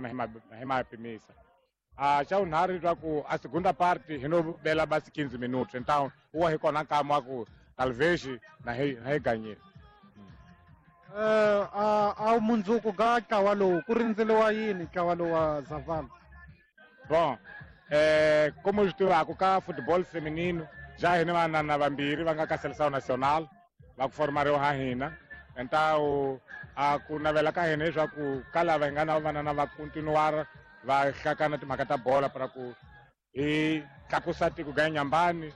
na hi ma pimisa. A xa vunharhu leswaku a segunda parte hi no bela basi 15 minutos, então wa hi kona nkama wa ku talvez na hi ganyile. A mundzuku ga ntlawa lowu ku rindzeliwa yini ntlawa lowu wa Zavala? Bom, como swi tivaka ka football feminino ja hina vanana vambirhi va nga ka Seleção Nacional va ku formariwa ha hina, então a ku navela ka hina leswaku ka lava hi nga na vanana va continuar va hlakana timhaka ta bola para ku hi tlakusa tiko ga Inhambane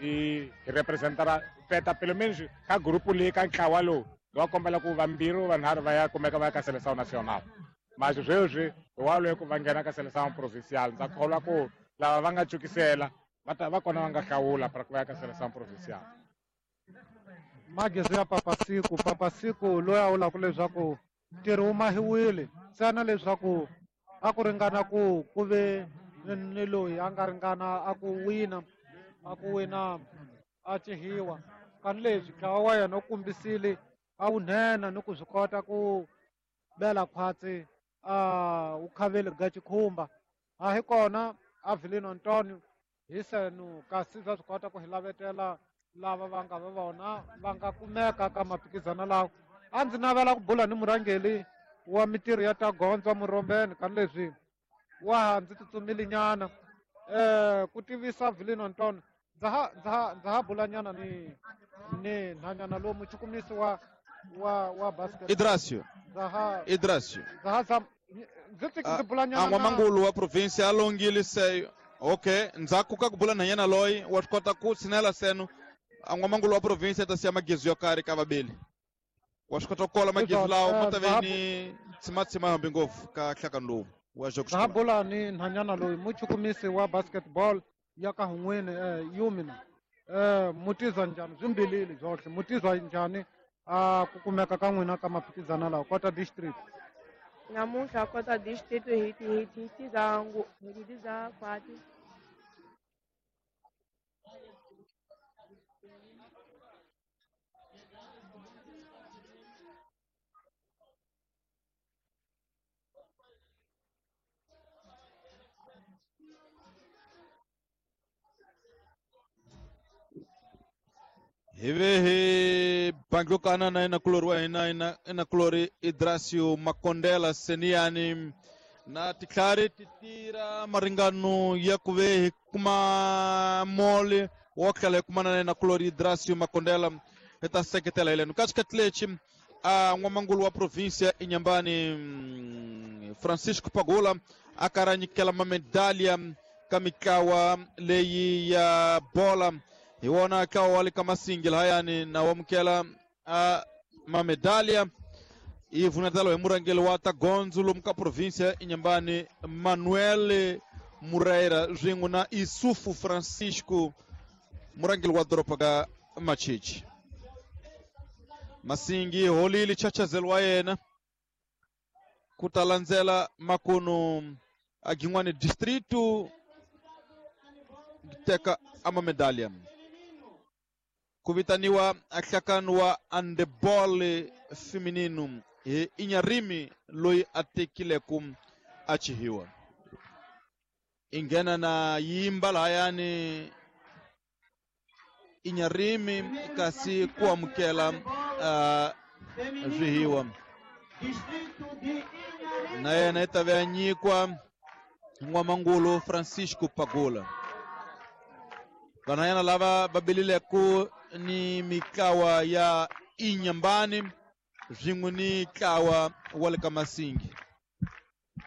hi representara peta pelo menos ka grupo leyi ka ntlawa lowu va kombela ku vambirhi vanharhu va ya kumeka va ya ka Seleção Nacional. Mas sweswi hi wa loyi ku va nghena ka Seleção Provincial, ndza kholwa ku lava va nga cukisela va ta va kona va nga hlawula para ku va ya ka Seleção Provincial. Magezi ya Papasiku, Papasiku loyi a vulaka leswaku ntirho wu mahiwile ntsena leswaku a ku ringana ku ku ve ni loyi a nga ringana a ku wina a cihiwa. Kani leswi ntlawa wa yena wu kombisile a wu nhenha ni ku swi kota ku bela khwatsi a wu khaveli ga xikhumba. A hi kona Avelino Antonio hi senu kasi bya swi kota ku hi lavetela lava va nga va vona va nga kumeka ka maphikizano lawa. A ndzi navela ku bula ni murhangeri wa mitirho ya ta gondzo Murombeni kani leswi wa ha ndzi tsutsumile nyana ku tivisa Avelino Antonio. Ndza ha bula nyana ni nhanyana lowu muchukumisi wa basket. Idrasio. Idrasio. Ndzi bula nyana. N'wamangulu wa province a longile seyo. Okay, ndzhaku ka ku bula nhanyana loyi wa swi kota ku tshinela seno. N'wamangulu wa province ta siya magezu yo karhi ka vabeli. Wa swi kota ku kola magezu lawo ma ta ve ni tshimatsima hambi ngopfu ka nhlakano lowu wa Ndza ha bula ni nhanyana loyi muchukumisi wa basketball ya ka hun'wini yumina. Mutizwa njhani swimbilili byohle mutizwa njhani a ku kumeka ka n'wina ka maphikizano lawa Kota District? Namuntlha Kota District hi tiza hi tiza khwati. Hi ve hi banglukana na inakulori wa hina inakulori Idrasio Makondela Seniani na titlhari ti tirha maringano ya ku ve hi kuma moli wo tlhela hi kumana na inakulori Idrasio Makondela hi ta seketela hi leno ka xikhathi lexi a n'wamangulu wa provinsia Inhambane Francisco Pagula a karhi a nyikela mamedalya ka mitlawa leyi ya bola. Hi wona ntlawa wa le ka Masingi lahayani na wamukela a mamedalya i vunatelo hi murhangeri wa ta gondzo lomu ka provinsia Inhambane Manuel Moreira swin'we na Isufu Francisco murhangeri wa doroba ka Machichi. Masingi holile chachazelo wa yena ku ta landzela makunu a Gin'wani distrito teka amamedalya. Ku vitaniwa nhlakano wa handeball feminino hi Inharime loyi a tekileku a chihiwa. I nghena na yimba lahayani Inharime kasi ku amukela swihiwa na yena i ta ve a nyikwa n'wamangulu Francisco Pagula. Vanhanyana lava va belileko ni mitlawa ya Inhambane swin'we ni ntlawa wa le ka Masingi.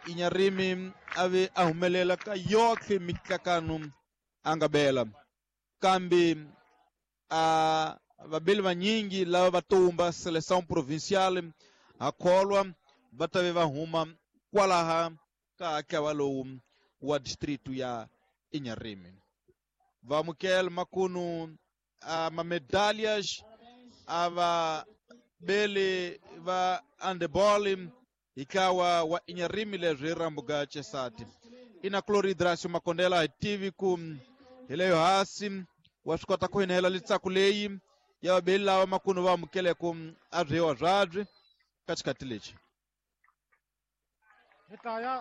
Inharime a ve a humelela ka yohle mitlakano a nga bela, kambe a vabeli vanyingi lava va tumba Seleção Provincial ha kholwa va ta ve va huma kwalaha ka ntlawa lowu wa distrito ya Inharime. Va amukela makunu a mamedalhas a va beli va handeball hi ntlawa wa Inharime leswi hi rambuka Chesati. Ina Cloridrasio Makondela hi tivi ku hi leyo hasi wa swi kota ku hinela litsaku leyi ya vabeli lava makunu va amukeleko a byiwa byabyi ka xikhathi lexi. Hi ta ya